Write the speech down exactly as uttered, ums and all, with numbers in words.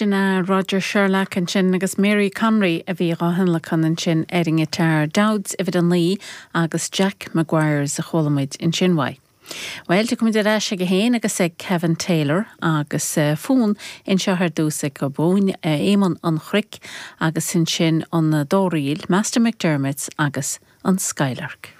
Sin é Roger Sherlock ansin agus Mary Conry a bhí á thionlacan ansin ar an ngiotár Dowds uimhir a naoi agus Jack Maguire's a chuala muid ansin uaidh. Well tiocfaimid ar ais aige féin agus ag Kevin Taylor agus uh, fonn anseo ar dtús ag Bóin uh, Éamonn an Chnoic agus ansin an dá ríl, Master McDermott agus an Skylark.